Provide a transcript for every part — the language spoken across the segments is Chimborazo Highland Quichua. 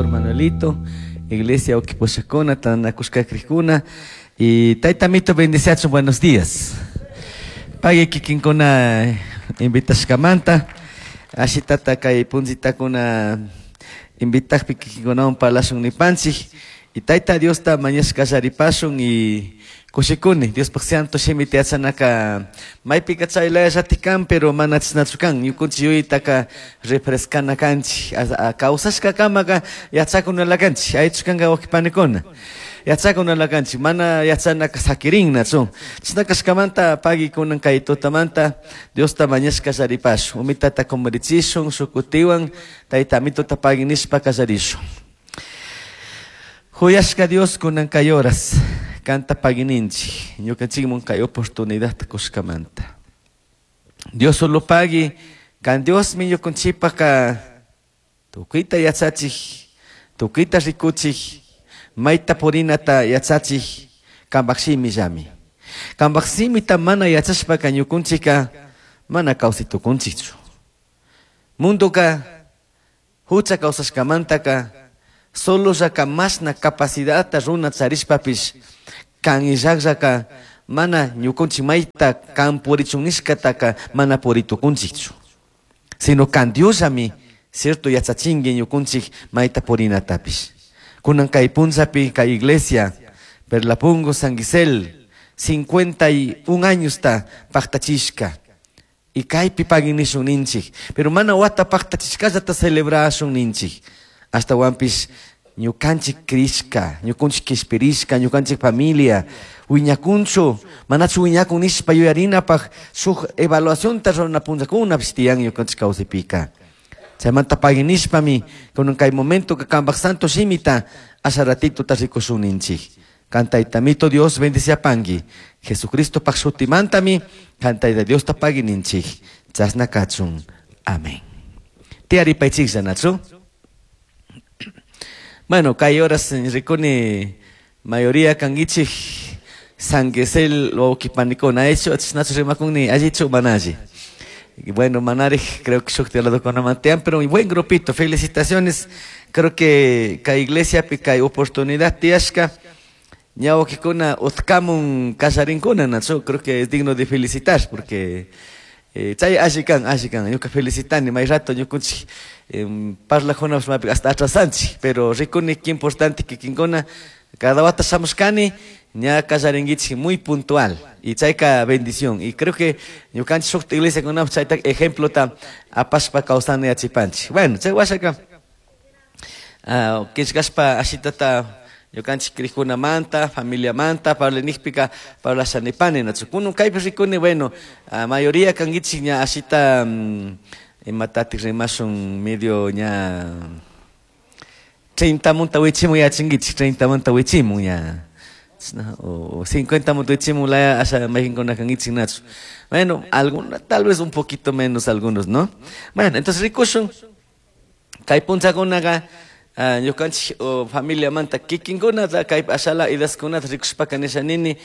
Pastor Manuelito, Iglesia Oquiposhakuna, Tanakushkakrijkuna y Tayta Mito bendiciachun, buenos días. Pagui kikinkuna invitashkamanta, ashitata kay punzitakuna invitakpi kikinkunawan parlashun nipanchik y Tayta Diosta mañashka kallaripashun y kushikuni Diospaj santo shimita yachanaka maypika chaylallatik kan, pero mana chashnachu kan. Ñukunchik yuyaytaka refrescana kanchik, kawsashkakamaka yachakunala kanchik. Aychu kanka wawqi panikuna, yachakunala kanchik, mana yachanaka sakirinnachu. Chashna kashkamanta pagui kunan kay tutamanta Diosta mañashka kallaripashun, umitata kumurichishun shukutiwan Tayta Amituta pagui nishpa kallarishun. Juyashka Dios kunan kay horas kanta paguininchik ñukanchikmun kay oportunidadta kushkamanta. Dios solo pagui kan Diosmi ñukanchikpaka tukuyta yachachik, tukuyta rikuchik, mayta purinata yachachik kanpak shimillami. Kanpak shimita mana yachashpaka ñukanchikka mana kawsay tukunchikchu. Mundoka hucha kawsashkamantaka solo llaka mashna capacidadta runa charishpapish kan illakllaka mana ñukanchik mayta kan purichun nishkataka mana puritukunchikchu. Sino kan Diosllami cierto yachachinki ñukanchik mayta purinatapish. Kunan kay punllapi kay iglesia Perlapungo San Gisel 51 añosta paktachishka. Y kaypi pagui nishun ninchik. Pero mana wata paktachishkallata celebrashun ninchik. Ashtawanpish ñukanchik crishka, ñukanchik kishpirishka, ñukanchik familia wiñakunchu, manachu wiñakun nishpa yuyarinapaj shuk evaluacionta rurana punllakunapish tiyan ñukanchik kawsaypika. Chaymanta pagui nishpami kunan kay momento kanpak santo shimita asha ratituta rikushun ninchik. Kan Tayta Mito Dios bendiciapanki. Jesucristo pak shutimantami kan Tayta Diosta pagui ninchik. Chashna kachun. Amén. Tiyaripaychiklla, nachu? Bueno, kay horas rikuni mayoría kankichik San Gisel wawqipanikuna hecho chashnachu rimakuni allichu mana alli. Bueno, manarij creo que shuk ladokunaman pero un buen grupito, felicitaciones. Creo que kay iglesiapi kay oportunidad tiyashka ña wawqikuna utkamun kallarinkuna, nachu? Creo que es digno de felicitar porque chay alli kan, alli kan. Ñuka felicitani may rato ñukunchik parlajuna hasta atrasanchik, pero rikuni qué importante kikinkuna cada wata shamushkani ña kallarinkichik muy puntual y chayka bendición. Y creo que ñukanchik shuk iglesiakunapish chayta ejemplota apashpa kawsana yachipanchik. Bueno, chay washaka killkashpa ashitata ñukanchik crikkunamanta, familiamanta, parlanijpika parlashanipani, nachu? Kunan kaypi rikuni, bueno, mayoría kankichik ña ashita imatatik rimashun medio ña 30 munta wichimun yachankichik, 30 munta wichimun ña, o 50 munta wichimun laya asha mayqinkuna kankichik, nachu? Bueno, alguna, tal vez un poquito menos algunos, ¿no? Bueno, entonces rikushun kay punchakunaka ñukanchik familiamanta kikinkunata kay ashala idaskunata rikushpaka nisha nini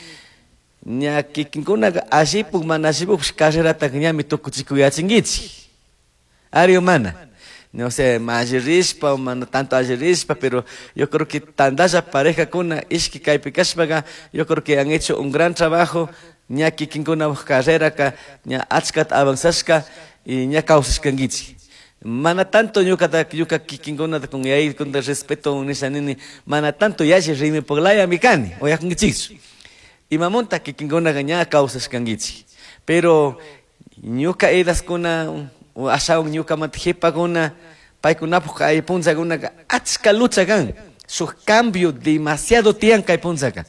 ña kikinkunaka allipuk mana allipukpish carrerataka ñami tukuchikuyachinkichik. Ari o mana? No sé, alli rishpa o mana tanto alli rishpa, pero yo creo que tandalla parejakuna ishki kaypi kashpaka, yo creo que han hecho un gran trabajo, ña kikinkuna carreraka ña achkata avanzashka y ña kawsashkankichik. Mana tanto ñukata ñuka kikinkunata con yay con respeto nisha nini mana tanto yalli rimipuk mi kani uyakunkichikchu. Imamunta kikinkunaka ña kawsashkankichik. Pero ñuka edaskuna ashawan ñukamanta qhipakuna paykunapuk kay punllakunaka achka lucha kan. Shuk cambio demasiado tiyan kay punllaka.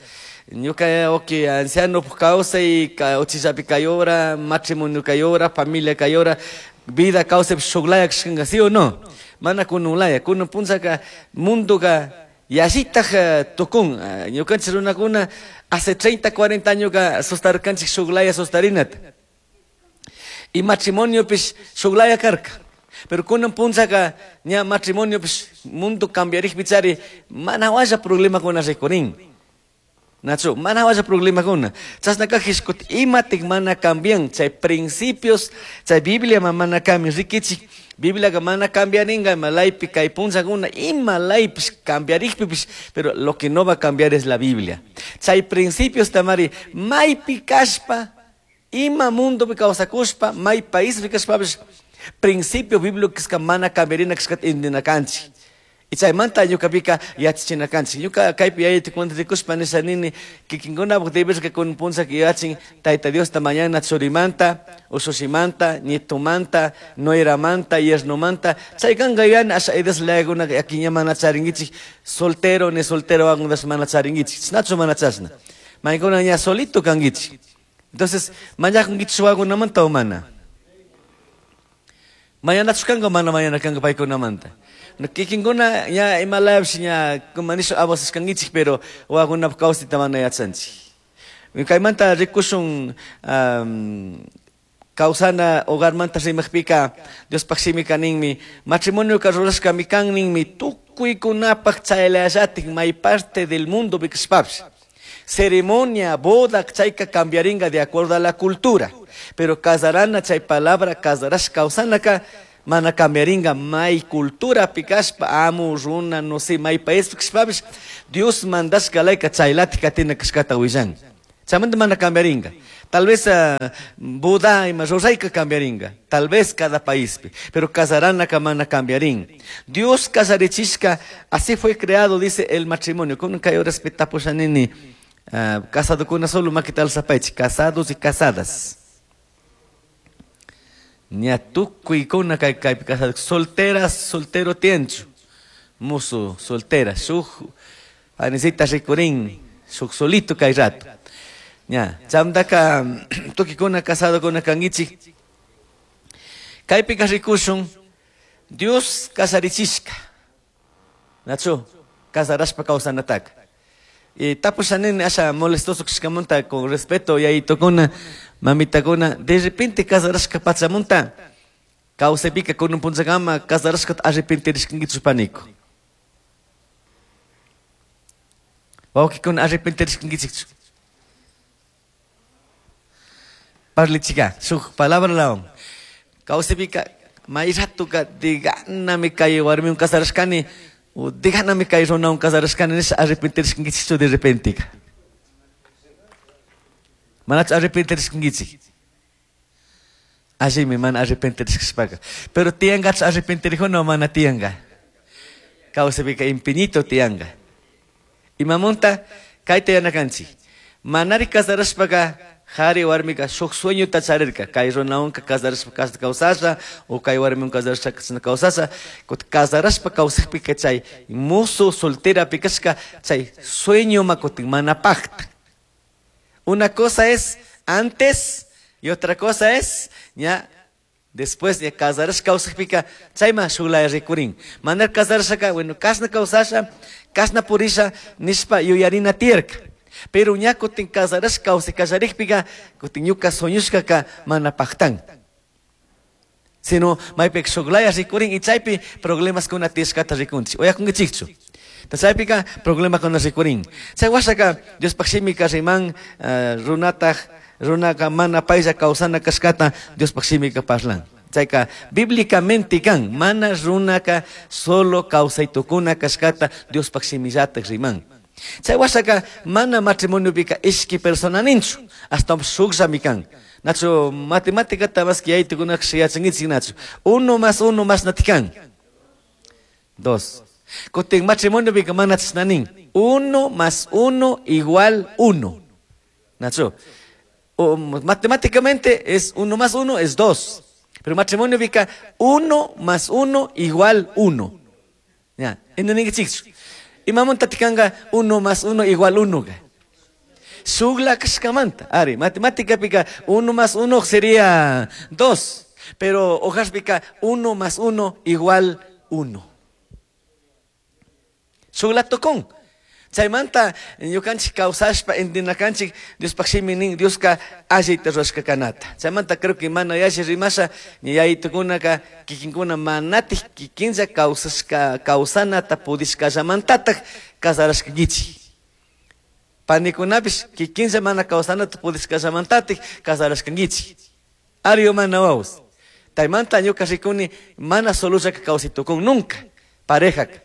Ñuka okay anciano kawsay uchillapi kay hora, matrimonio kay hora, familia kay hora, vida kawsaypi shuklaya kashkanka, ¿sí o no? Mana kunun laya, kunun punllaka mundoka yallitaj tukun. Ñukanchik runakuna hace 30, 40 añoka sostarkanchik shuklaya sostarinata. Y matrimoniopish shuklaya karka. Pero kunan punllaka ña matrimoniopish mundo cambiarijpi chari mana walla problemakuna rikurin. Nachu, mana washa problemakuna. Chasna kajishkut imatik mana cambian chay principios, chay Biblia mana cambian rikichik. Bibliaga mana cambiaringa ima laypi kay punllakuna ima laypish cambiarikpipish, pero lo que no va a cambiar es la Biblia. Chay principios tamari maypi kashpa, ima mundopi kawsakushpa, may paispi kashpapish, principio bíblico mana cambiarina kashkata intindina kanchik. Y chaymanta ñukapika yachachina kanchik. Ñuka kaypi yayaytukunata rikushpa nisha nini kikinkunapuk deberka kun punllaka yachin Tayta Diosta mañana churimanta, ushushimanta, nietomanta, nueramanta, yernomanta. Chay kanka yuyani asha edas layakunaka yakiña mana charinkichik, soltero ni soltero wakunatash mana charinkichik. Chashnachu mana chashna. Maykuna ña solito kankichik. Entonces, mañakunkichik wakunamanta o mana? Mañanachu kanka o mana mañana kanka paykunamanta? Kikinkuna ña ima layapish ña kuma nisha abusashkankichik, pero wawakunapuk kawsayta mana yachanchik. Kaymanta rikushun kawsana hogarmanta rimakpika Diospaj shimika ninmi, matrimonioka rurashkami kan ninmi tukuykunapak chaylallatik may parte del mundo kashpapish. Ceremonia, boda, chayka cambiaringa de acuerdo a la cultura. Pero casarana, chay palabra, casarash kawsanaka, mana cambiaringa may cultura kashpa, amu, runa, no sé, may país kashpapish, Dios mandashka layka chaylatik katina kashkata willan. Chaymanta mana cambiaringa. Tal vez boda ima rurayka cambiaringa. Tal vez cada paíspi. Pero casaranaka mana cambiarin. Dios casarichishka, así fue creado, dice el matrimonio. Kun kay respetapusha nini, casadokuna solo makita alzapaychik, casados y casadas. Ña tukuykuna kay kaypi casado, solteras, soltero tienchu. Musu, soltera, shuk, anisita rikurin, shuk solito kay rato. Ña, chamdaka tukikuna casadokuna kankichik. Kaypika rikushun, Dios kasarichishka. Nachu, kasarashpa kawsanataka. Y tapusha nini asha molestoso kashkamanta con respeto yayitukuna, mamitakuna, de repente kasarashka pachamunta, kawsaypika kunun punllakama kasarashkata arrepentirishkankichu paniku. Wawqikuna arrepentirishkankichikchu. Parlichika, shuk palabra lawan. Kawsaypika may ratuka diganami kay warmiwan kasarashkani, o diganami kay runawan kasarashkani nisha arrepentirishkankichikchu de repente. Manachu arrepentirishkankichik. Allimi mana arrepentirishkashpaka. Pero tiyankachu arrepentirijuna o mana tiyanka. Kawsaypika infinito tiyanka. Imamunta kayta yanakanchik. Manari kasarashpaka jari warmika shuk sueñota charirka. Kay runawanka kasarashpa kawsasha, o kay warmiwan kasarashpa kawsasha. Kasarashpa kawsakpika chay musu solterapi kashka chay sueño makutin mana pakta. Una cosa es antes y otra cosa es ya después de casarashpa kawsakpika chayma shuklaya rikurin. Manar kasarashaka, bueno, kashna kawsasha, kashna purisha nishpa yuyarina tiyarka. Pero ña kutin kasarashka kawsay kallarikpika kutin ñuka sueñushkaka mana paktan. Sino maypika shuklaya rikurin y chaypi problemas kuna tiyashkata rikunchik. Uyakunkichikchu. Chaypika problemakuna rikurin. Chay washaka Diospaj shimika riman runataj runaka mana paylla kawsana kashkata Diospaj shimika parlan. Chayka bíblicamente kan mana runaka solo kawsaytukuna kashkata Diospaj shimillataj riman. Chay washaka mana matrimonio-pika ishki persona ninchu, hasta shukllami kan. Nachu matemáticata más que yaytukunaka yachankichik nachu. 1 más 1 más natikan. 2. Kutin matrimonio-pika mana chashna nin. 1 más 1 igual 1. Nachu. O, matemáticamente es 1 más 1 es 2. Pero matrimonio-pika 1 más 1 igual 1. Ya, entendikichikchu. Imamunta tikanga 1 más 1 igual 1. Shukla kashkamanta. Ari, matemática pica 1 más 1 sería 2. Pero hojas pica 1 más 1 igual 1. Shukla tocón. Chaymanta ñukanchik kawsashpa intinakanchik Diospaj shimi nin Dioska allita rurashka kanata. Chaymanta creo que mana yalli rimasha ña yayitukunaka kikinkuna manatik kikinlla kawsashka kawsanata pudishkallamantataj kasarashkankichik. Panikunapish kikinlla mana kawsanata pudishkallamantatik casarashkankichik. Ari o mana wawas. Taymanta ñuka rikuni mana solollaka kawsay tukun nunca parejaka.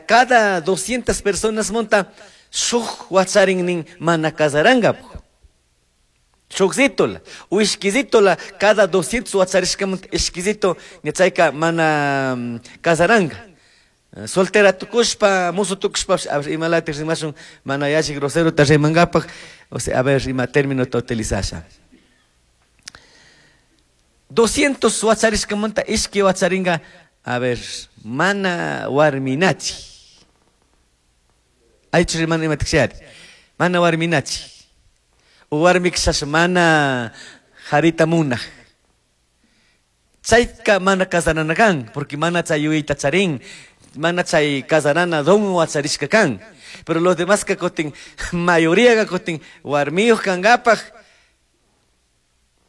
Cada 200 personas monta shuk wacharin nin mana casarangapu. Shukzitola, o ishkizitola, cada 200 wacharishkamanta ishkizito ña mana casaranga. Soltera tukushpa, musu tukushpa, a ver, imalatik rimashun, mana yalli groserota rimangapak, o sea, a ver, ima término ta utilizasha. 200 wacharishkamanta ishki wacharinga, a ver, mana warminachi. Aychu rimana imatik shari. Mana warminachi. O warmikshas mana harita munaj. Chayka mana casarana kan, porque mana chay yuyayta charin, mana chay casarana don wacharishka kan. Pero los demás ka kutin, mayoría ka kutin, warmiyuq kankapaj,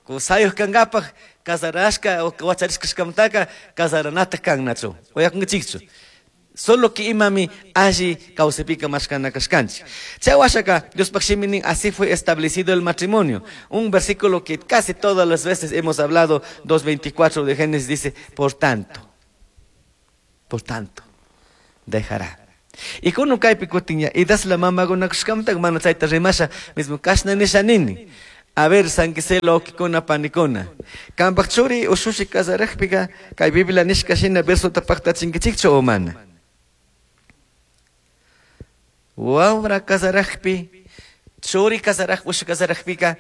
kusayuq kankapaj, casarashka o wacharishkashkamantaka casaranata kan nachu. Uyakunkichikchu. Solo que imami alli kawsaypika mashkana kashkanchik. Chay washaka Diospaj shimi nin, así fue establecido el matrimonio. Un versículo que casi todas las veces hemos hablado, 2:24 de Génesis dice, por tanto, dejará. Y kuno kaypi kutin ya, idasla mamakunakushkamanta mana chayta rimasha, mismo kashna nisha nini. A ver, sanquiselo okikuna panikuna. Kampak churi ushushi casarajpika, kay Biblia nishka shina versota paktachinkichikchu o mana. Wawra casarajpi, churi casaraj, ushu casarajpika,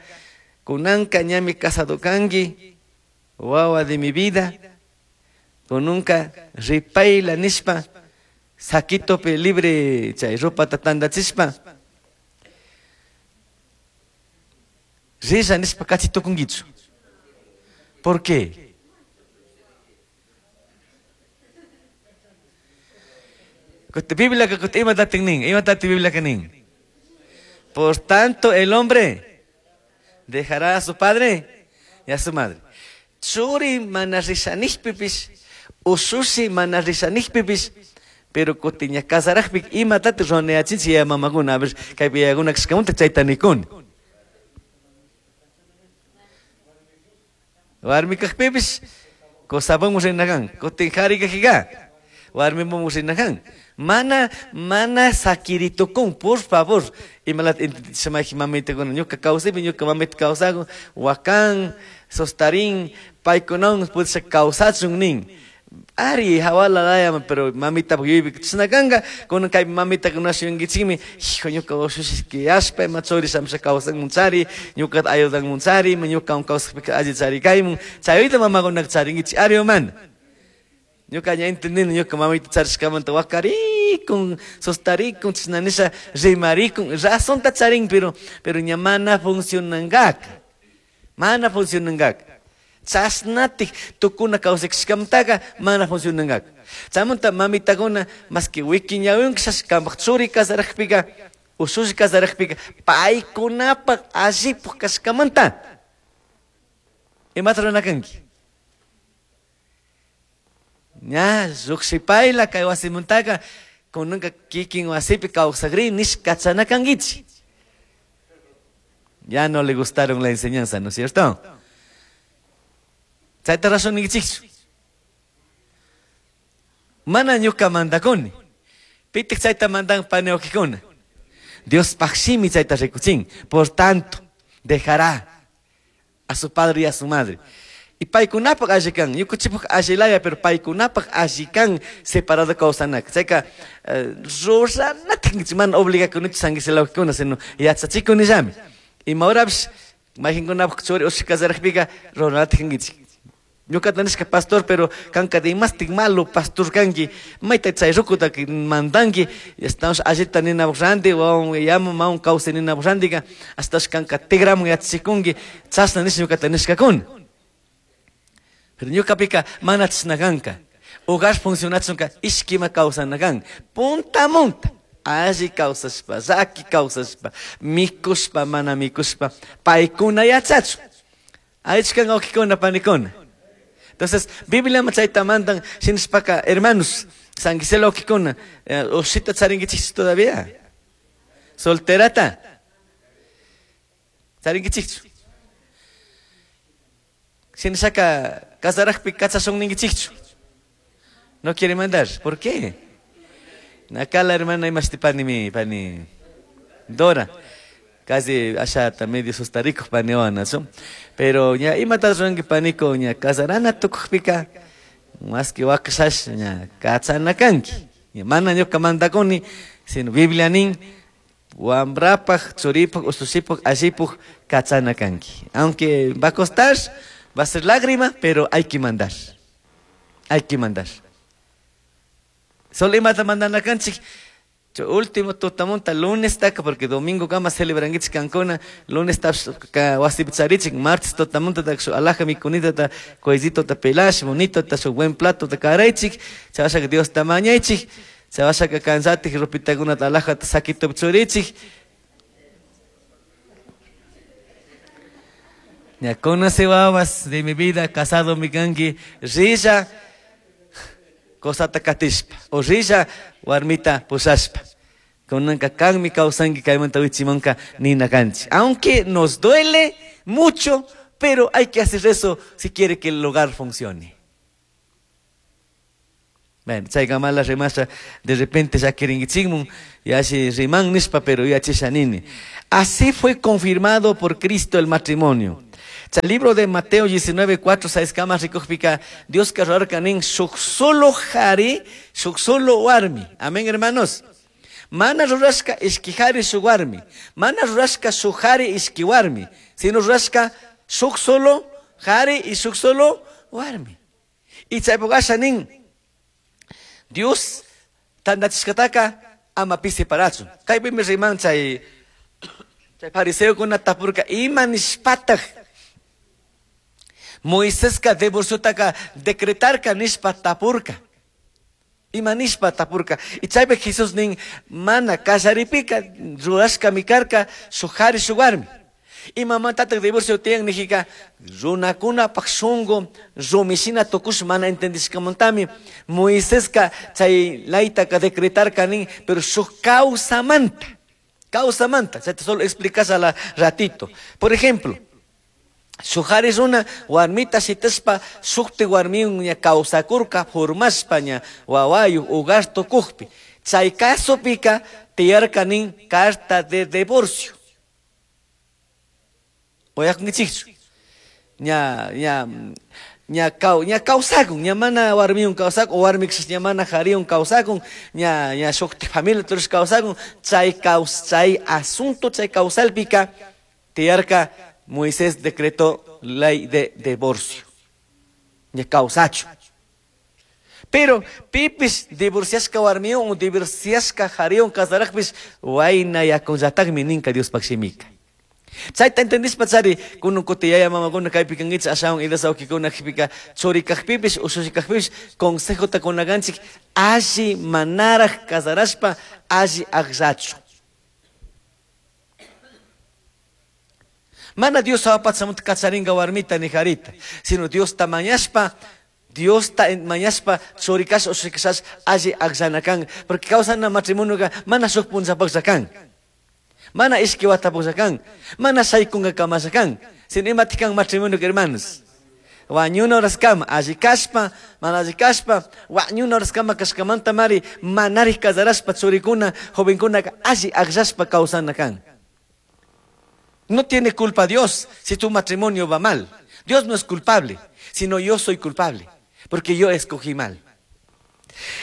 kunanka ñami casado kanki, wawa de mi vida, kununka ripayla nishpa, saquitopi libre chay ropata tandachishpa, risha nishpa kachitukunkichu. ¿Por qué? Biblia que ima tatin nin, ima tati Biblia que nin. Por tanto, el hombre dejará a su padre y a su madre. Churi mana rishanijpipis, ushushi mana rishanijpipis, pero kutiña casarajpik ima tati ruwanayachinchik ya mamakuna, a ver, kaypi yayakuna kashkamunta chayta nikuni. Warmi kajpipis, kusapanmu rinakan, kutin qhari kajika, warmimunmu rinakan. Mana, mana sakiritukun, por favor. Imalat shamaki mamitakuna, ñuka kawsaypi, ñuka mamita kawsakun, wakan, sostarin, paykunawan pudisha kawsachun nin. Ari, hawala laya, pero mamita yuyaypi chashna kanka, kunan kay mamita kunashuyunkichikmi, hijo, ñuka ushushishki yashpa, ima churi shamusha kawsanmunchari, ñukata ayudanmunchari, ima ñukawan kawsakpika alli charikaymun, chayuyta mamakunaka charinkichik, ari o mana. Ñuka ña entendini, ñuka mamita charishkamanta wakarikun, sostarikun, chashna nisha rimarikun, razonta charin, pero ña mana funcionankaka, mana funcionankaka. Chashnatik tukuna kawsakishkamantaka mana funcionankaka. Chaymanta mamitakuna más que wikiñawinka kampaj churi casarajpika, ushushi casarajpika, paykunapaj allipuk kashkamanta. Imata ruranakanki? Ña, lluqshipayla kay wasimantaka, kunanka kikin wasipi kawsakri nish kachanakankichik. Ya no le gustaron la enseñanza, ¿no es cierto? Chayta razón ninkichikchu. Mana ñuka mandakuni. Pitik chayta mandan panewakikuna. Dios pajshimi chayta rikuchin. Por tanto, dejará a su padre y a su madre. Y paykunapaq alli kan, ñukanchikpaq allilaya, pero paykunapaq alli kan separado kawsanaka. Chayka ruranatik mana obligakunichu sanguiselawakikuna, sino yachachikunillami. Ima horapish mayqinkunapaq churi ushi casarajpika ruranatik kankichik. Ñukata nishka pastor, pero kanka dimastik malo pastor kanki, mayta chay rukuta mandanki, estamos allita ninapaq ranti, wawan yamu mawan kawsay ninapaq rantika, hasta kanka tigramun yachachikunki, chashna nisha ñukata nishkakuna. Pero ñukapika mana chashna kanka. Hogar funcionachunka ishkima kawsana kan. Punta munta. Alli kawsashpa, llaki kawsashpa, mikushpa, mana mikushpa, paykuna yachachun. Aychkan wawqikuna panikuna. Entonces, Biblia chayta mandan shinashpaka, hermanos, sanguiselo wawqikuna, ushita charinkichikchu todavía. Solterata. Charinkichikchu. Shinashaka casarajpi kachashun ninkichikchu. No quiere mandar. ¿Por qué? Acá la hermana imashti pani pani Dora. Casi ashata medio sustarico paniwana, ¿no? Pero ña imata ruranki paniko ña casarana tukujpika más que wakashash ña kachana kanki. Ña mana ñuka mandakuni, sino Biblia nin wambrapaj, churipaj, usushipaj, allipaj kachana kanki. Aunque va a costar, va a ser lágrima, pero hay que mandar. Hay que mandar. Solo imata mandana kanchik. Último tutamunta lunes taka porque domingo kama celebrankichik kankuna lunes ta wasipi charichik martes tutamunta ta shu alaja mikunita ta cuellito ta pelash bonito ta su buen plato ta karaychik chawashaka Dios ta mañaychik chawashaka kansatik ropitakuna ta alaja ta saquito churichik. Ya conoce wawas de mi vida casado mi kanki rilla kosata katishpa o rilla warmita pushashpa. Kunanka kanmi kawsanki kaymanta wichimanka nina kanchi. Aunque nos duele mucho, pero hay que hacer eso si quiere que el hogar funcione. Bueno, chaykamala rimasha de repente ya quieren y así riman nishpa, pero ya chishanini. Así fue confirmado por Cristo el matrimonio. El libro de Mateo 19:4, 6 kama rikujpika, Dios rurarka nin shuk solo jari, shuk solo warmi. Amén, hermanos. Mana rurashka ishki jari shuk warmi. Mana rurashka shuk jari ishki warmi. Sino rurashka shuk solo jari y shuk solo warmi. Y chaypukasha nin Dios tandachishkataka ama pi separachun. Kaypimi riman chay fariseokuna tapurka ima nishpataj Moiseska divorciotaka decretarka nishpa tapurka. Ima nishpa tapurka. Y chaypi Jesús nin mana kasharipika rurashka mikarka shuk jari shuk warmi. Imamantataj divorcio tiyan nijika runakunapaj shunku rumishina tukush mana entendishkamantami Moiseska chay laytaka decretarka nin pero shuk causamanta. Causamanta. Chayta solo explicas a la ratito. Por ejemplo, shuk jari runa warmita shitashpa shukti warmiwan ña kawsakurka formashpa ña wawayuk hogar tukukpi. Chay casopika tiyarka nin carta de divorcio. Uyakunkichikchu. Ña ña kawsakun, ña mana warmiwan kawsakun, o warmikshis ña mana jariwan kawsakun, ña ña shukti familia turush kawsakun, chay chay asunto chay kawsalpika tiyarka Moisés decretó ley de divorcio. Ña kawsachu. Pero pipis divorciashka warmiwan o divorciashka jariwan kasarajpis wayna yakunllatakmi ninka Diospaj shimika. Chayta entendishpa chari kunun kuti yaya mamakuna kaypi kankichik ashawan idas awkikuna jipika churi kajpipis ushushi kajpipis consejota kunakanchik alli manaraj kasarashpa alli akllachu. Mana Dios apachamunta kacharinka warmita ni jarita, sino Dios ta mañashpa, Dios ta mañashpa churikash ushikashash alli akllanakan, porque kawsana matrimonioka mana shuk punllapaklla kan. Mana ishki watapaklla kan, mana shaykunka kamasha kan, sino imatikan matrimonio hermanos. Wañuna horaskama, alli kashpa, mana alli kashpa, wañuna horaskama kashkamanta mari manarij kasarashpa churikuna, jovenkunaka alli akllashpa kawsana kan. No tiene culpa Dios si tu matrimonio va mal. Dios no es culpable, sino yo soy culpable, porque yo escogí mal.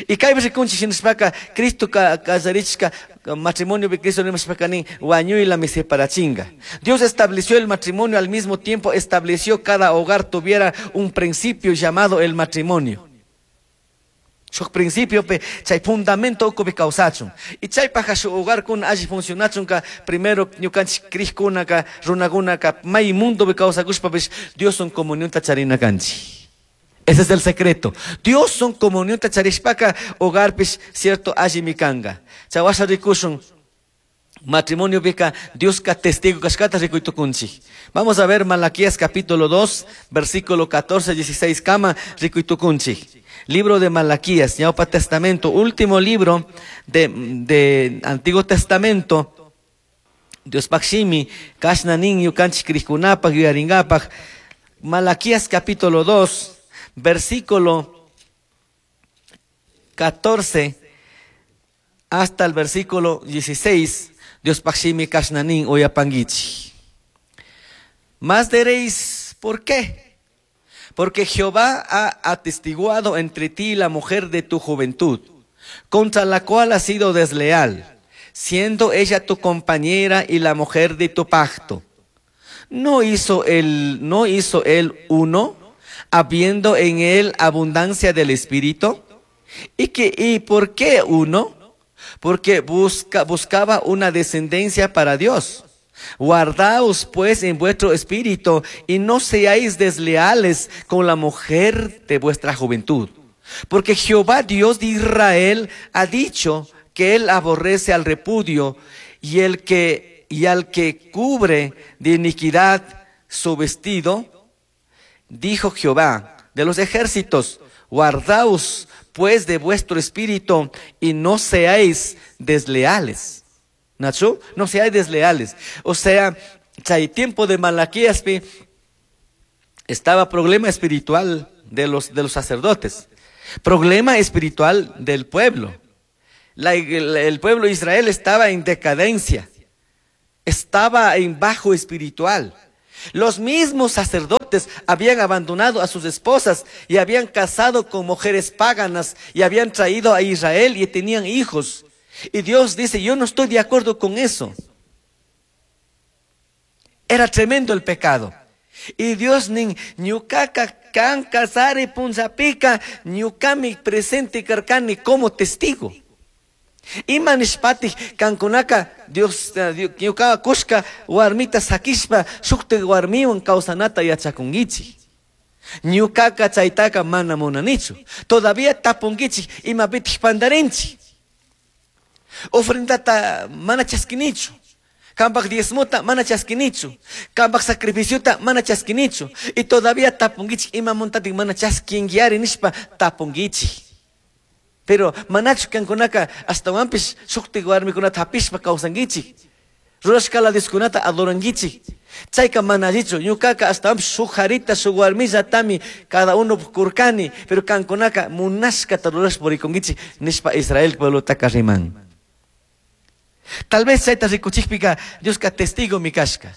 Y kaypi rikunchik shinashpaka Cristo kasarichka matrimonio de Cristo nimashpaka nin wañuylami separachinga. Dios estableció el matrimonio, al mismo tiempo estableció cada hogar tuviera un principio llamado el matrimonio. Shuk principio pe chay fundamento ukupi kawsachun. Y chaypaja shuk hogar kuna alli funcionachunka primero ñukanchik krijkunaka runakunaka may mundopi kawsakushpapish Dioswan comunionta charina kanchik. Ese es el secreto. Dios son comunionta charishpaka hogarpish cierto allimi kanga. Chawasha rikushun matrimonio pika Dioska testigo kashkata rikuytukunchik. Vamos a ver Malaquías capítulo 2, versículo 14, 16 kama rikuytukunchik. Libro de Malaquías, Ñaupa Testamento, último libro de Antiguo Testamento. Diospaj shimi kashna nin ñukanchik crijkunapaj yuyaringapaj. Malaquías capítulo 2, versículo 14 hasta el versículo 16, Diospaj shimi kashna nin uyapanguichik. Más diréis, ¿por qué? Porque Jehová ha atestiguado entre ti la mujer de tu juventud, contra la cual has sido desleal, siendo ella tu compañera y la mujer de tu pacto. ¿No hizo él uno, habiendo en él abundancia del Espíritu? ¿Y por qué uno? Porque buscaba una descendencia para Dios. Guardaos pues en vuestro espíritu y no seáis desleales con la mujer de vuestra juventud. Porque Jehová Dios de Israel ha dicho que él aborrece al repudio y al que cubre de iniquidad su vestido. Dijo Jehová de los ejércitos, guardaos pues de vuestro espíritu y no seáis desleales. Nacho, no seáis desleales. O sea, chay tiempo de Malaquías estaba problema espiritual de los sacerdotes, problema espiritual del pueblo. El pueblo de Israel estaba en decadencia, estaba en bajo espiritual. Los mismos sacerdotes habían abandonado a sus esposas y habían casado con mujeres paganas y habían traído a Israel y tenían hijos. Y Dios dice, yo no estoy de acuerdo con eso. Era tremendo el pecado. Y Dios nin ñukaka kan kasari punzapika ñukami presente karkani como testigo. Ima nishpatij kankunaka Dios ñuka kushka warmita sakishpa shukti warmiwan kawsanata yachakunkichik. Ñukaka chaytaka mana munanichu. Todavía tapunkichik imapitik pandarinchik. Ofrendata mana chaskinichu. Kambaj diezmota mana chaskinichu. Kambaj sacrificiota mana chaskinichu. Y todavía tapunkichik imamuntatik mana chaskinkiari nishpa tapunkichik. Pero manachu kankunaka astawanpish shuktik warmikunata hapishpa kawsankichik. Rurashkala Dioskunata adorankichik. Chayka mana allichu, ñukaka astawanpish shuk harita shuk warmillatami cada uno kurkani, pero kankunaka munashkata rurashpa purikunkichik nishpa Israel pueblotaka riman. Tal vez chayta rikuchikpika Dioska testigo mi kashka.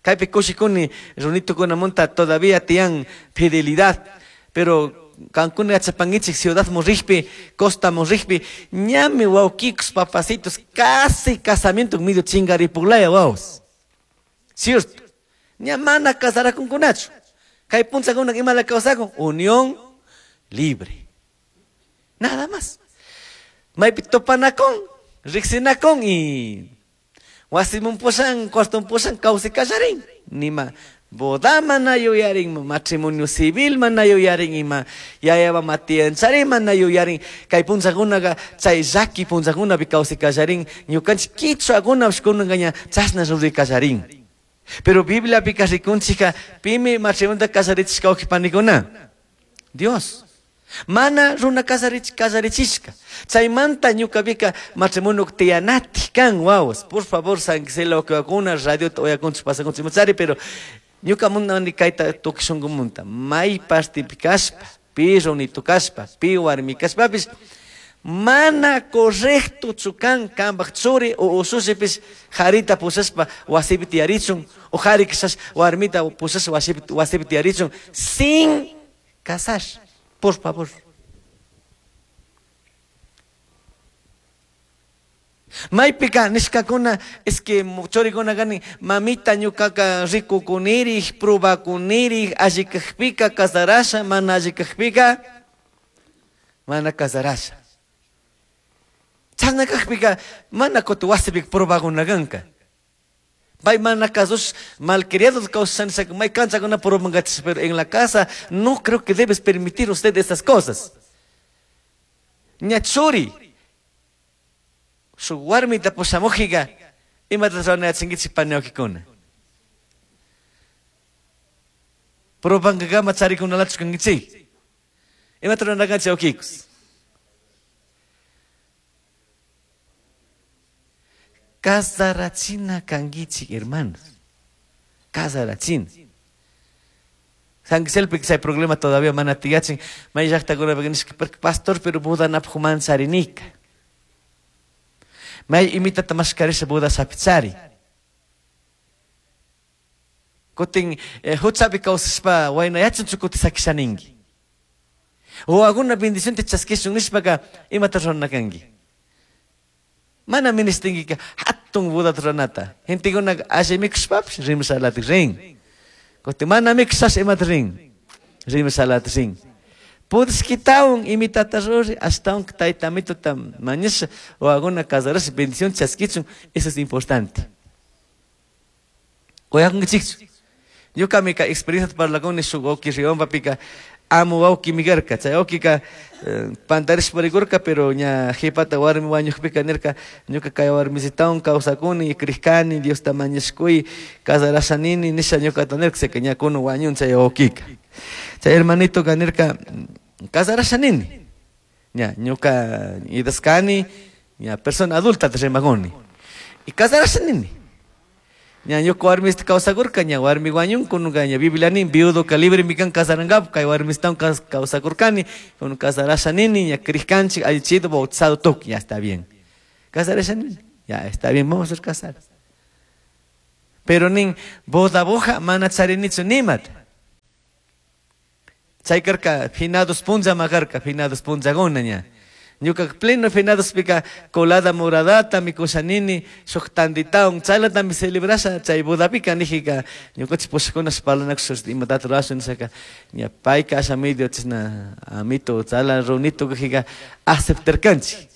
Kaypi kushikuni runitukunamunta todavía tiyan fidelidad, pero kankuna yachapankichik ciudad murrijpi, costa murrijpi, ñami wawkikus papacitos, casi casamiento medio chingaripuglaya wawas. Cierto. Ña mana casarakunkunachu. Kay punchakuna imala kawsakun, unión libre. Nada más. Maypi topanakun, riksinakun y wasimun pushan, cuarton pushan, kawsay kallarin. Nima boda mana yuyarin, matrimonio civil mana yuyarin, ima yayaba matianchari mana yuyarin. Kay punchakunaqa chay llaki punchakunapi kawsay kallarin, ñukanchik kichwakunapish kunanka ña chashna ruray kallarin. Pero Bibliapika rikunchika pimi matrimonio kasarichishka wawqipanikuna? Dios. Mana runa kasarichishka. Chaymanta ñukapika matrimonio tiyanatik kan wawas. Por favor, San Gisela wawqiwakuna, radiota uyakunchik pasakunchik imachari, pero ñuka munani kayta tukuy shunkumunta. May partipi kashpa, pi runitu kashpa, pi warmi kashpapish, mana correcto kan kambaj churi o usushipish jarita pushashpa wasipi tiyarichun, o jari kishash warmita pushashpa wasipi tiyarichun, sin casar. Por favor. Maypika nishkakuna es que churikuna kani mamita ñukaka rikukunirij, probakunirij, alli kajpika casarasha, mana alli kajpika mana casarasha. Chashna kajpika mana kutin wasipika probakuna kanka. Pay mana casos malcriados causan may cancha con pero en la casa no creo que debes permitir usted esas cosas. Ñachuri su warmita pushamujiga imata ruranachinkichik paniwakikuna. Probankakama charikunalachu kankichik. Imata ruranakanchik wawkikus. Casarachina kankichik, hermanos. Casarachina. San Giselpi chay problema todavía mana tiyachin. May llaqtakunapi nishka, pastor, pero bodanapaq mancharinika. May imitata mashkarisha boda sapichari. Kutin huchapi kawsashpa wayna yachanchu kuti sakishaninki. O alguna bendición te chaskishun nishpaka imata rurana kanki. Mana ministinkika hatun bodata ruranata. Gentekunaka alli mikushpapish rimashalata rin. Kutin mana mikushash imata rin. Rimashalata rin. Pudishkitawan imitata ruri ashtawan tayta amituta mañasha o alguna casarasha bendición chaskichun, eso es importante. Uyakunkichikchu. Ñukami kay experiencia parlakuni shuk wawki Riompapika amu wawkimi karka. Chay wawkika pantarishpa rikurka, pero ña qhipata warmi wañuqpika nirka, ñuka kay warmisitawan kawsakuni, krikani, Diosta mañashkuy, casarasha nini, nisha ñukata nirka, seka ña kunan wañun chay wawkika. Chay hermanitoka nirka, casarasha nini. Ña, ñuka idaskani, ña persona adulta rimakuni. Y casarasha nini. Ña ñuka warmista kawsakurka, ña warmi wañun, kununka ña Biblia nin, viudo ka libre mi kan casarangap, kay warmistawan kawsakurkani, kun casarasha nini, ña krikkanchik, allichido, bautizado tuk, ya está bien. Casarasha nini, ya está bien, vamos a ser casados. Pero nin, boda boja, mana charinichu nimat. Chay karka, finados punlla makarka, finados punllakuna ña. Ñuka pleno finados pika colada moradata mikushanini, shuk tanditaun, chaylatami celebrasha, chay bodapika nijika, ñukanchik pushakuna parlanakush imatata rurashun nishaka, ña payka asha medio chashna amito, chala runito kajika aceptarkanchik.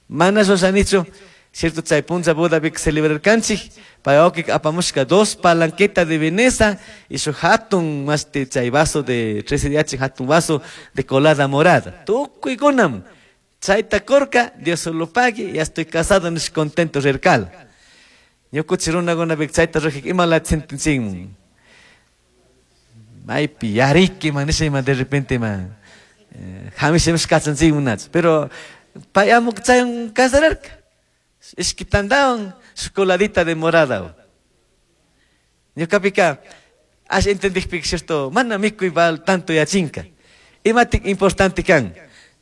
Mana rurashanichu, cierto, chay punlla bodapika celebrarkanchik, pay wawkika apamushka 2 palanqueta de Veneza y shuk hatun mashti chay vaso de 13 de hatun vaso de colada morada. Tukuykunam. Chayta kurka, Dios solo pague, ya estoy casado, nish contento rirkal. Ñukuchi runakunapika chayta rujik imala sentencimun. Maypi yariki man, nisha ima de repente man. Hamisha kachanchikmun nachu. Pero pay amuk chaywan casararka. Ishki tandawan, shuk coladita de morada. Ñukapika, ash entendikpika, cierto, mana mikuy bal tanto yachinka. Imatik importante kan.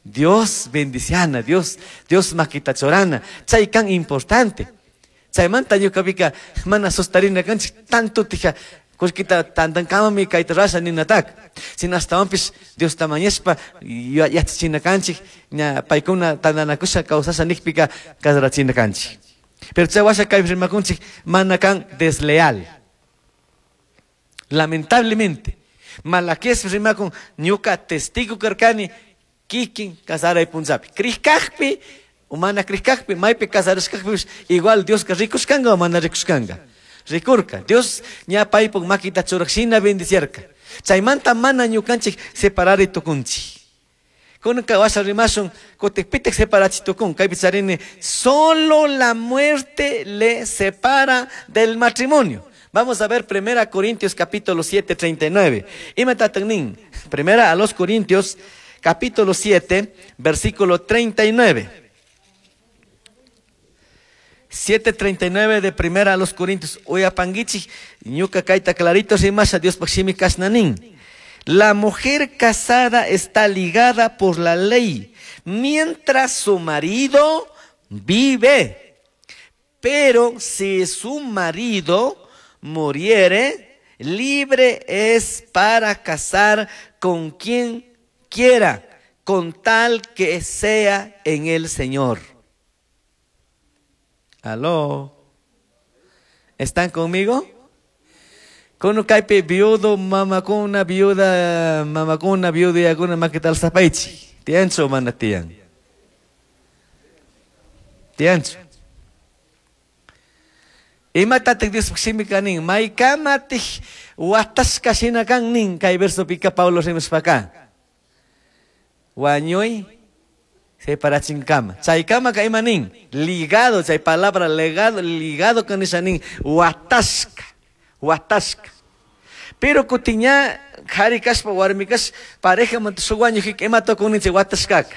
Dios bendiciana, Dios, Dios makita chorana, chay kan importante. Chaymanta ñukapika mana sustarina kanchik tanto tija kullkita tantankamami kayta rasha ninatak. Sino astawanpish Dios tamañashpa yachachina kanchik, ña paykuna tantanakusha kawsasha nikpika kasarachina kanchik. Pero chay washa kaypi rimakunchik mana kan desleal. Lamentablemente, Malaquías rimakun ñuka testigo karkani kikin kasaray punllapi. Krikakpi, o mana krikakpi, maypi kasarashkakpipish, igual Dioska rikushkanga o mana rikushkanga. Rikurka. Dios ña paypuk makita churajshina bendiciarka. Chaymanta mana ñukanchik separari tukunchik. Kunanka washa rimashun, kutik pitik separachi tukun. Kaypi charini, solo la muerte le separa del matrimonio. Vamos a ver 1 Corintios capítulo 7, 39. Imata nin. Primera a los Corintios capítulo 7, versículo 39. 7:39 de Primera a los Corintios. Uyapanguichi, ñuka kaita clarito rimasha Dios pakshimi kashnanin. La mujer casada está ligada por la ley mientras su marido vive. Pero si su marido muriere, libre es para casar con quien quiera, con tal que sea en el Señor. Aló. ¿Están conmigo? Kono kaypi viudo, mamakuna, viuda, mamakuna, viuda y alguna más que tal zapaichi. Tiancho mana tian. Tiancho. Imatatik Dios shimi kanin, maykamatik watashka shina kan nin, kay verso pika Pablo rimushpaka. Wañuy separachinkama. Chaykama ka ima nin, ligado, chay palabra legado, ligado kan nisha nin, watashka, watashka. Pero kutiña, jari kashpa, warmi kash, pareja manta shuk wañujik, ima tukun nin chay watashkaka.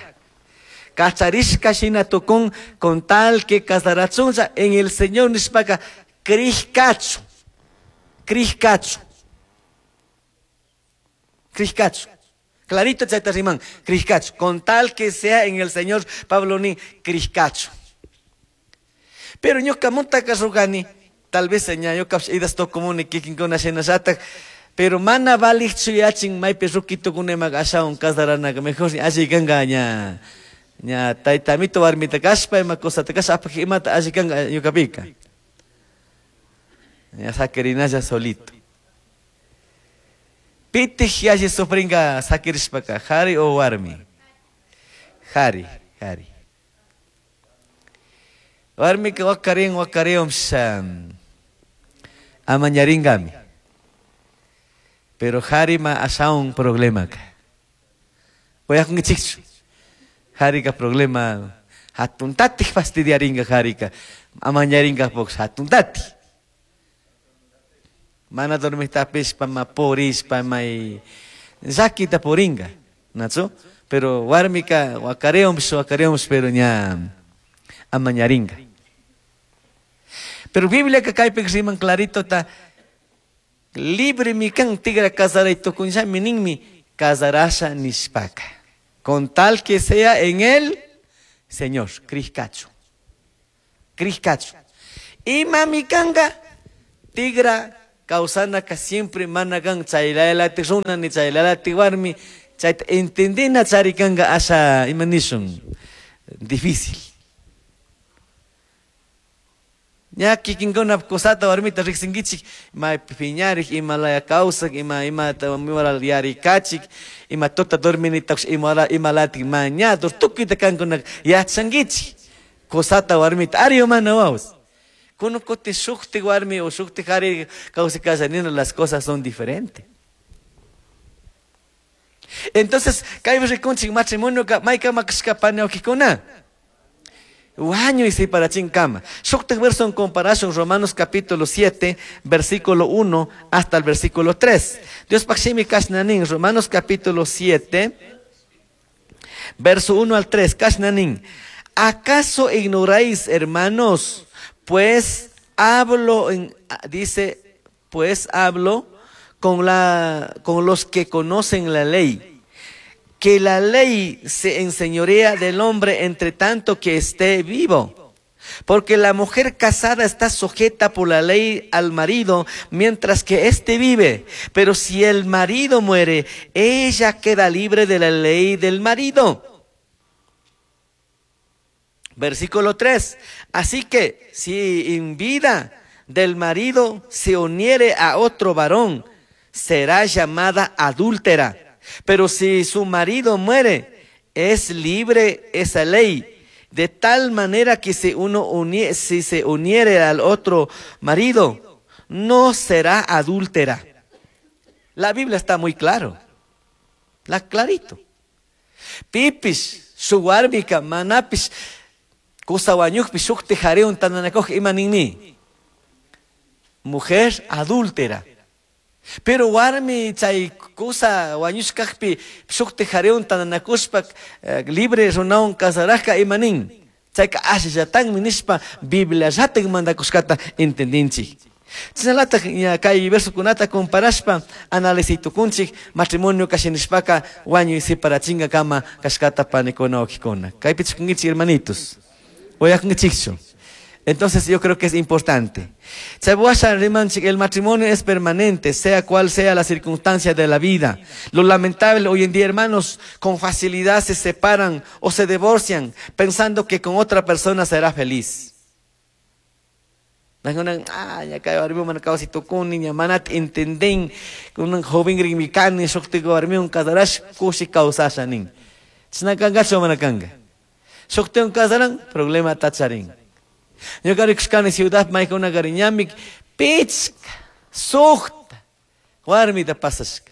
Kacharishka shina tukun con tal que casarachunlla en el Señor nishpaka crishkachu. Crishkachu. Crishkachu. Clarito chayta riman, crishkachu. Con tal que sea en el Señor, Pablo ni crishkachu. Pero ñuka rugani, tal vez ñuka idas tokumuni kikinkuna shinallatak, pero mana valikchu yachin maypi rukitukunema ashawan casaranaqa mejor alli kanka ña ña taytamito warmita kashpa ima cosata kashpa apaj imata alli kanka ñukapika. Ña sakirinalla solito. Pitij yalli sufringa sakirishpaka, jari o warmi? Jari, jari. Warmika wakarin wakarin amañaringami. Pero jarima ashaun problema ka. Oyakunkichikchu. Jarika problema hatuntatik fastidiaringa jarika. Amañaringa pox hatuntati. Mana dormistapishpa ma purishpa may llakita puringa. ¿Nachu? Pero warmika wakareumsh wakareumsh pero ña amañaringa. Pero Biblia ka kaypi riman clarito ta libre mi kan tigra casaray tukunllami ninmi casarasha nishpaka. Con tal que sea en el Señor, crishkachu. Crishkachu. Ima mi kanga tigra kawsanaka siempre mana kan chaylalati runa ni chaylalati warmi chayta entendina charikanga asha ima nishun difícil. Ña kikinkuna kusata warmita riqsinkichik ima piñarik ima laya kawsak ima imata yarikachik ima tuta dorminitakush ima ima mañadur tukuyta kankuna yachankichik kusata warmita ari mana wawas. Kuno kuti shukti warmi o shukti jari kawsakasha las cosas son diferentes. Entonces, kaypi rikunchik matrimonio maykama kashka pani Wañuy separachinkama. Shuktik verso en comparación, Romanos capítulo 7, versículo 1 hasta el versículo 3. Dios pakshimi kashnanin, Romanos capítulo 7, verso 1 al 3, kashnanin. ¿Acaso ignoráis, hermanos? Pues hablo, dice, pues hablo con los que conocen la ley, que la ley se enseñorea del hombre entre tanto que esté vivo. Porque la mujer casada está sujeta por la ley al marido mientras que éste vive. Pero si el marido muere, ella queda libre de la ley del marido. Versículo 3. Así que si en vida del marido se uniere a otro varón, será llamada adúltera. Pero si su marido muere, es libre esa ley, de tal manera que si si se uniere al otro marido, no será adúltera. La Biblia está muy claro, la clarito. Pipis, su warmika, manapis, kusa wañukpi, shukti jariun tananakoj imaninmi. Mujer adúltera. Pero warmi chay kusa wañushkaqpi shukti jariun tananakushpa libre runawan casarajka imanin. Chayka ashallatanmi nishpa Biblia llatak mandakushkata entendinchik. Chaynalataq kay versokunata comparashpa analizitukunchik matrimonio kashinishpaka wañuy separachinga kama kashkata panikuna wawqikuna. Kaypi chikunkichik hermanitos. Uyakunkichikchu. Entonces yo creo que es importante. El matrimonio es permanente, sea cual sea la circunstancia de la vida. Lo lamentable hoy en día, hermanos, con facilidad se separan o se divorcian pensando que con otra persona será feliz. Problema tacharin. Ñuka rikushkani ciudad maykuna kariñamik pichka, suqta, warmita pasashka.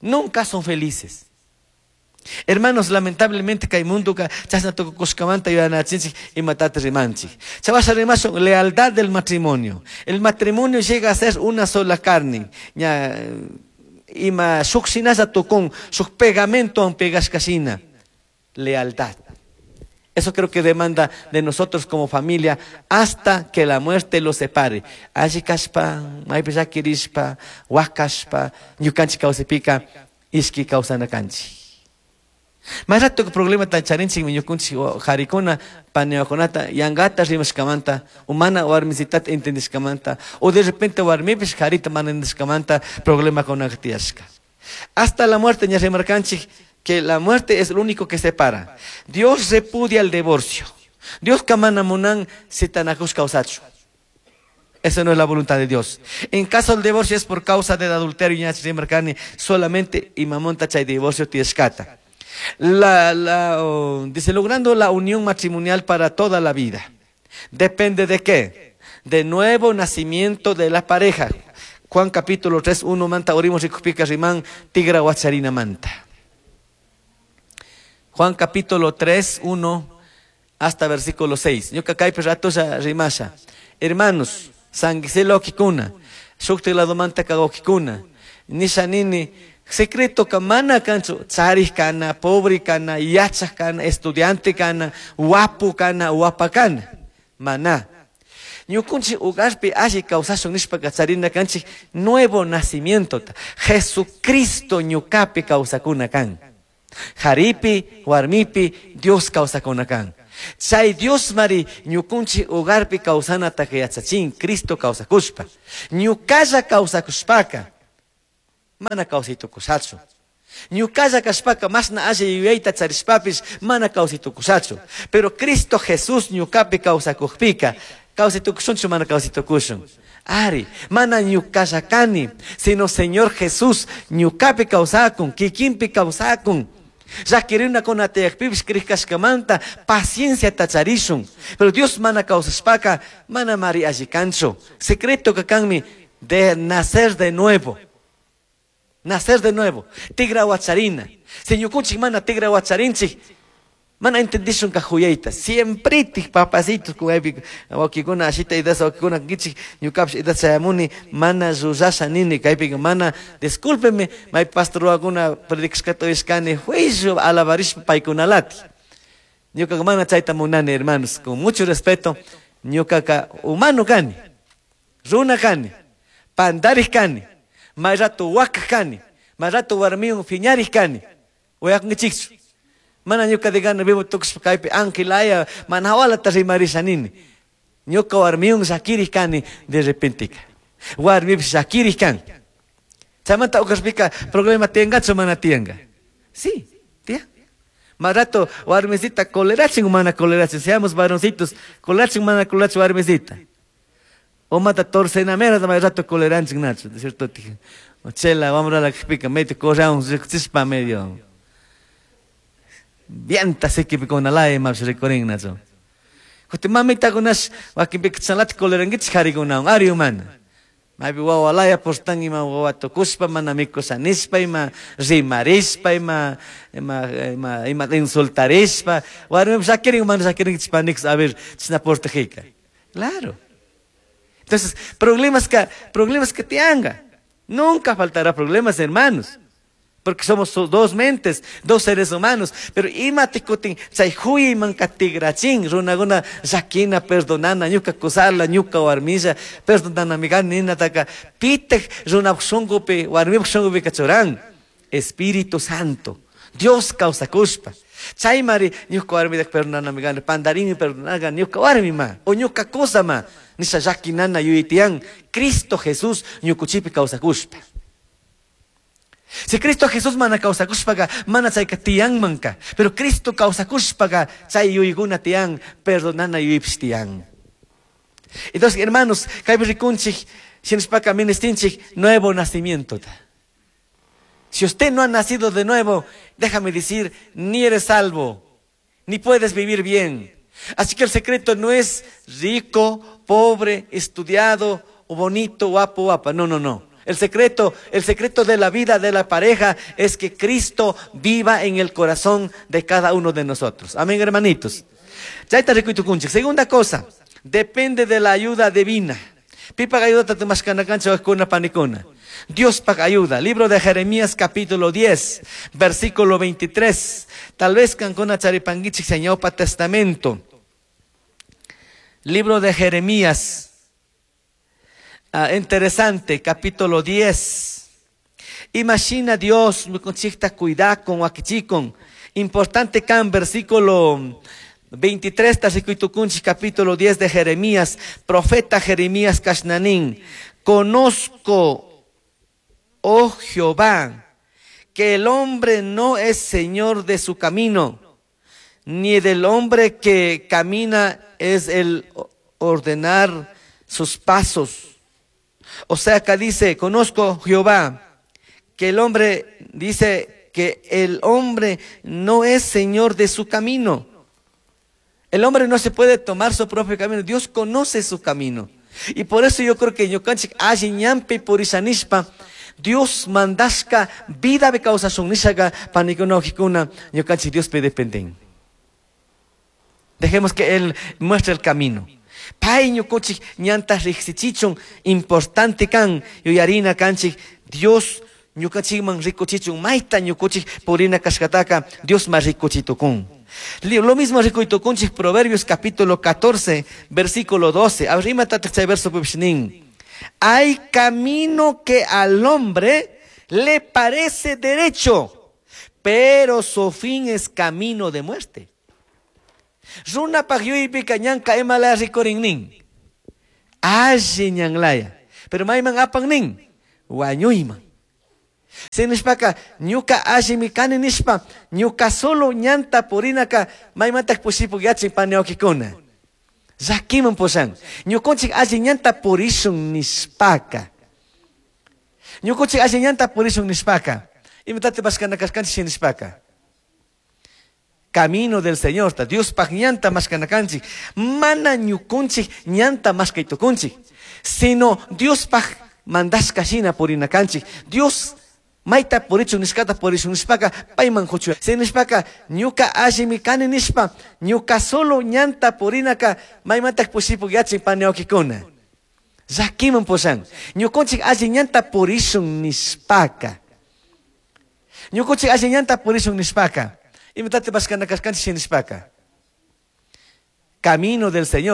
Nunca son felices. Hermanos, lamentablemente kay mundoka chashna tukukushkamanta yuyanachinchik imatata rimanchik. Chavasha rimashun lealtad del matrimonio. El matrimonio llega a ser una sola carne. Ña ima shuk shinalla tukun, shuk pegamento pegashkashina. Lealtad. Eso creo que demanda de nosotros como familia hasta que la muerte los separe. Alli kashpa, maypi llakirishpa, wakashpa, ñukanchik kawsaypika ishki kawsana kanchik. May rato problema charinchikmi ñukunchik qarikuna paniwakunata yankata rimashkamanta o mana warmisitata entendishkamanta o de repente warmipish qarita mana entendishkamanta problemakunaka tiyashka. Hasta la muerte ña rimarkanchik que la muerte es lo único que separa. Dios repudia el divorcio. Dios mana munan sitanakush kawsachu. Eso no es la voluntad de Dios. En caso del divorcio es por causa del adulterio ña rimarkani solamente imamonta chay divorcio tiyashkata. Dice, logrando la unión matrimonial para toda la vida. ¿Depende de qué? De nuevo nacimiento de la pareja. Juan capítulo 3, 1 manta, orimos rikupika riman, tigra wacharina manta. Juan capítulo 3, 1 hasta versículo 6. Ñuka kaypi ratolla rimasha. Hermanos, sanguiselo kikuna, shukti lado manta kagokikuna, nisha nini, secreto ka mana kanchu, charij kana, pobre kana, yachaj kana, estudiante kana, wapu kana, wapa kana. Mana. Ñukunchik hogarpi alli kawsashun nishpaka charina kanchik nuevo nacimiento. Jesucristo ñukapi kawsakuna kan. Jaripi, warmipi, Dios kawsakuna kan. Chay Dios mari ñukunchik hogarpi kawsanata yachachin, Cristo kawsakushpa. Ñukalla kawsakushpaka, mana kawsaytukushachu. Ñukalla kashpaka mashna alli yuyayta charishpapish mana kawsaytukushachu. Pero Cristo Jesús ñukapi kawsakukpika, kawsaytukushunchu mana kawsaytukushun. Ari, mana ñukalla kani, sino Señor Jesús ñukapi kawsakun, kikinpi kawsakun. Llakirina tiyakpipish krikashkamanta paciencia tacharishun. Pero Dios mana kawsashpaka, mana mari alli kanchu. Secreto ka kanmi de nacer de nuevo. Nacer de nuevo. Tigra wacharina. Si ñukunchik mana tigra wacharinchik, mana entendishun ka juyayta. Siempre tik papacitos kuyaypi wakikuna ashita idasa wakikuna kichik ñukapish idasa chayamuni mana rurasha nini kaypika mana discúlpeme may pastor wakuna predicashkata uyashkani juicio alabarishpa paykunalati. Ñukaka mana chayta munani, hermanos, con mucho respeto, ñukaka humano kani, runa kani, pandarij kani, may rato wakaj kani, may rato warmiwan phiñarij kani, uyakunkichikchu. Mana ñuka de gana vivo tukushpa kaypi ángel mana hawalata rimarisha nini. Ñuka warmiwan llakirij kani de repente. Warmipish llakirij kan. Chaymanta uqashpika problema tiyangachu mana tiyanka. Sí, tiyan. Más rato warmisita colerachin o mana colerachin, seamos varoncitos, colerachin mana colerachin warmisita. O mata torcenamera más rato coleраnchin nacho, de cierto? O chela, vamos a la que medio correamos, chispa medio. Vienta se que con la ma se recorren nacho. Kuti mamita kunas wakin salat coleranguich hariguna ari humana. Maybe wawalaya postan ima wawatukuspa mana mikusanispa ima rimarispa ima ima ima ima insultarispa warmi sakirin mana sakirin chispanix a ver chisna portajika. Claro. Entonces, problemas que te hagan. Nunca faltará problemas, hermanos. Porque somos dos mentes, dos seres humanos. Pero ima tikutin, chay huyi man katigrachin, runaguna llakina perdonana, ñuka kusala, ñuka warmilla, perdonana migan nina taka, pitej runap shungupi, warmip shungupi kachuran. Espíritu Santo, Dios kawsakushpa. Chay mari, ñuka warmida perdonana migan, pandarini perdonaga, ñuka warmi ma, o ñuka kusa ma, nisha llakinana yuyitian, Cristo Jesús ñukuchipi kawsakushpa. Si Cristo Jesús mana kawsakushpaga, mana chayka tiyanmanka. Pero Cristo kawsakushpaga, chay yuyguna tiyan, perdonana yuypish tiyan. Entonces, hermanos, kaypi rikunchik, shinashpaka ministinchik, nuevo nacimiento. Si usted no ha nacido de nuevo, déjame decir, ni eres salvo, ni puedes vivir bien. Así que el secreto no es rico, pobre, estudiado, o bonito, guapo, guapa. No, no, no. El secreto de la vida de la pareja es que Cristo viva en el corazón de cada uno de nosotros. Amén, hermanitos. Chayta rikuytukunchik. Segunda cosa, depende de la ayuda divina. Pipa ayuda tamashkanakancha wajkuna panikuna. Dios paga ayuda. Libro de Jeremías capítulo 10, versículo 23. Tal vez kankuna charipankichik Ñawpa Testamento. Libro de Jeremías. Ah, interesante, capítulo 10. Imagina Dios ñukanchikta cuidakun wakichikun. Importante kan versículo 23 rikuytukunchik capítulo 10 de Jeremías, profeta Jeremías kashna nin. Conozco, oh Jehová, que el hombre no es señor de su camino, ni del hombre que camina es el ordenar sus pasos. O sea, acá dice, conozco Jehová, que el hombre, dice que el hombre no es señor de su camino. El hombre no se puede tomar su propio camino. Dios conoce su camino. Y por eso yo creo que ñukanchik alli ñanpi purisha nishpa, Dios mandashka vida kawsashun nishaka panikuna wawkikuna ñukanchik Diospi dependen. Dejemos que Él muestre el camino. Pay ñukunchik ñanta riqsichichun importante kan yuyarina kanchik Dios ñukanchikman rikuchichun mayta ñukunchik purina kashkataka Dios ma rikuchitukun. Lo mismo rikuytukunchik Proverbios capítulo 14, versículo 12. A ver, imatataq chay verso nin. Hay camino que al hombre le parece derecho, pero su fin es camino de muerte. Runapaj yuyaypika ñanka imalaya rikurin nin. Alli ñanlaya. Pero mayman apan nin. Wañuyman. Nishpaka ñuka allimi kani nishpa ñuka solo ñanta purinaka maymantak pushipuk yachin pani wawkikuna. Llakiman pushan. Ñukunchik alli ñanta purishun nishpaka. Ñukunchik alli ñanta purishun nishpaka. Imatataq mashkana kashkanchik nishpaka. Camino del Señor, ta Diospaj ñanta mashkana kanchik. Mana ñukunchik ñanta mashkaytukunchik. Sino Diospaj mandashka shina purina kanchik. Dios mayta purichun nishkata purishun nishpaka payman huchu. Nishpaka ñuka allimi kani nishpa ñuka solo ñanta purinaka maymantak pushipuk yachin pani wawkikuna. Llakiman pushan. Ñukunchik alli ñanta purishun nishpaka. Ñukunchik alli ñanta purishun nishpaka. Imatataq mashkana kashkanchik nishpaka. Camino del Señor.